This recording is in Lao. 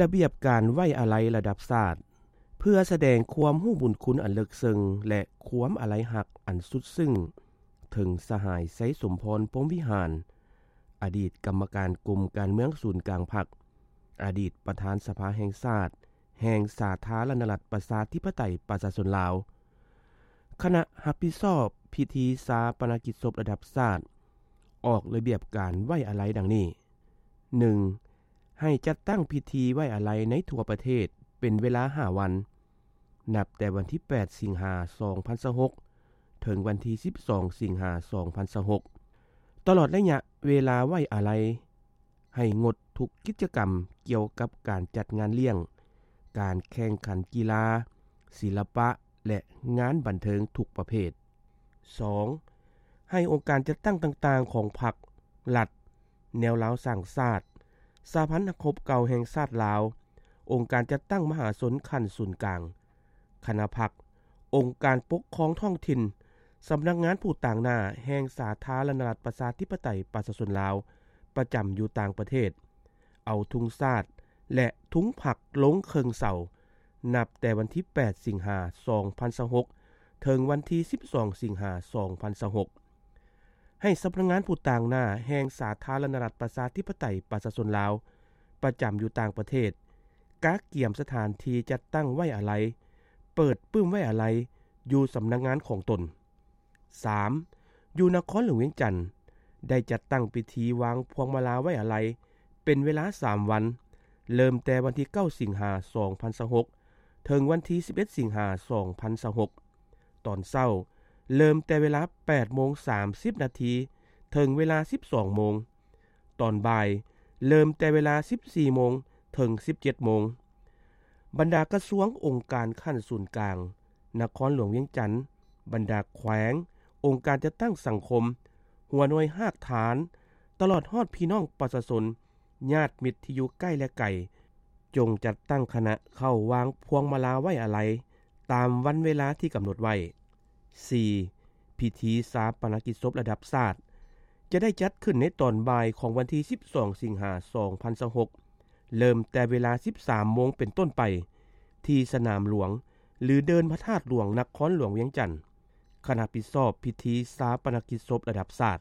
ລະບຽບການໄວ້ອາໄລລະດັບຊາດ ເພື່ອສະແດງຄວາມຮູ້ບຸນຄຸນອັນເລິກເຊິ່ງ ແລະ ຄວາມອາໄລຮັກອັນສຸດຊຶ້ງ ເຖິງສະຫາຍ ໄຊສົມພອນ ພົມວິຫານ ອະດີດກຳມະການກົມການເມືອງສູນກາງພັກ, ອະດີດປະທານສະພາແຫ່ງຊາດ ແຫ່ງສາທາລະນະລັດ ປະຊາທິປະໄຕ ປະຊາຊົນລາວ, ຄະນະຮັບຜິດຊອບພິທີຊາປະນະກິດສົບລະດັບຊາດ ອອກລະບຽບການໄວ້ອາໄລດັ່ງນີ້: ໜຶ່ງ ໃຫ້ຈັດຕັ້ງພິທີໄວ້ອາໄລໃນທົ່ວປະເທດເປັນເວລາຫ້າວັນ, ນັບແຕ່ວັນທີແປດ ສິງຫາ ສອງພັນຊາວຫົກ ເຖິງວັນທີສິບສອງ ສິງຫາ ສອງພັນຊາວຫົກ. ຕະຫຼອດໄລຍະເວລາໄວ້ອາໄລ ໃຫ້ງົດທຸກກິດຈະກຳກ່ຽວກັບການຈັດງານລ້ຽງ, ການແຂ່ງຂັນກິລາ, ສິລະປະ ແລະ ງານບັນເທີງທຸກປະເພດ. ສອງ ໃຫ້ອົງການຈັດຕັ້ງຕ່າງໆຂອງພັກ, ລັດ, ແນວລາວສ້າງຊາດ, ສະຫະພັນນັກຮົບເກົ່າແຫ່ງຊາດລາວ, ອົງການຈັດຕັ້ງມະຫາຊົນຂັ້ນສູນກາງ, ຄະນະພັກ, ອົງການປົກຄອງທ້ອງຖິ່ນ, ສຳນັກງານຜູ້ຕາງໜ້າແຫ່ງສາທາລະນະລັດ ປະຊາທິປະໄຕ ປະຊາຊົນລາວ ປະຈຳຢູ່ຕ່າງປະເທດ ເອົາທຸງຊາດ ແລະ ທຸງພັກລົງເຄິ່ງເສົາ ນັບແຕ່ວັນທີແປດ ສິງຫາ ສອງພັນຊາວຫົກ ເຖິງວັນທີສິບສອງ ສິງຫາ ສອງພັນຊາວຫົກ. ໃຫ້ສຳນັກງານຜູ້ຕາງໜ້າແຫ່ງສາທາລະນະລັດ ປະຊາທິປະໄຕ ປະຊາຊົນລາວ ປະຈຳຢູ່ຕ່າງປະເທດ ກະກຽມສະຖານທີ່ຈັດຕັ້ງໄວ້ອາໄລ, ເປີດປຶ້ມໄວ້ອາໄລຢູ່ສຳນັກງານຂອງຕົນ. ສາມ ຢູ່ນະຄອນຫຼວງວຽງຈັນ ໄດ້ຈັດຕັ້ງພິທີວາງພວງມາລາໄວ້ອາໄລເປັນເວລາສາມວັນ, ເລີ່ມແຕ່ວັນທີເກົ້າ ສິງຫາ ສອງພັນຊາວຫົກ ເຖິງວັນທີສິບເອັດ ສິງຫາ ສອງພັນຊາວຫົກ. ຕອນເຊົ້າ ເລີ່ມແຕ່ເວລາແປດໂມງສາມສິບນາທີ ເຖິງເວລາສິບສອງໂມງ. ຕອນບ່າຍ ເລີ່ມແຕ່ເວລາສິບສີ່ໂມງ ເຖິງສິບເຈັດໂມງ. ບັນດາກະຊວງ, ອົງການຂັ້ນສູນກາງ, ນະຄອນຫຼວງວຽງຈັນ, ບັນດາແຂວງ, ອົງການຈັດຕັ້ງສັງຄົມ, ຫົວໜ່ວຍຮາກຖານ, ຕະຫຼອດຮອດພີ່ນ້ອງປະຊາຊົນ, ຍາດມິດທີ່ຢູ່ໃກ້ ແລະ ໄກ, ຈົ່ງຈັດຕັ້ງຄະນະເຂົ້າວາງພວງມາລາໄວ້ອາໄລຕາມວັນເວລາທີ່ກຳນົດໄວ້. ສີ່ ພິທີຊາປະນະກິດສົບລະດັບຊາດ ຈະໄດ້ຈັດຂຶ້ນໃນຕອນບ່າຍຂອງວັນທີສິບສອງ ສິງຫາ ສອງພັນຊາວຫົກ ເລີ່ມແຕ່ເວລາສິບສາມໂມງເປັນຕົ້ນໄປ ທີ່ສະໜາມຫຼວງ ຫຼື ເດີ່ນພະທາດຫຼວງ ນະຄອນຫຼວງວຽງຈັນ. ຄະນະຮັບຜິດຊອບພິທີຊາປະນະກິດສົບລະດັບຊາດ.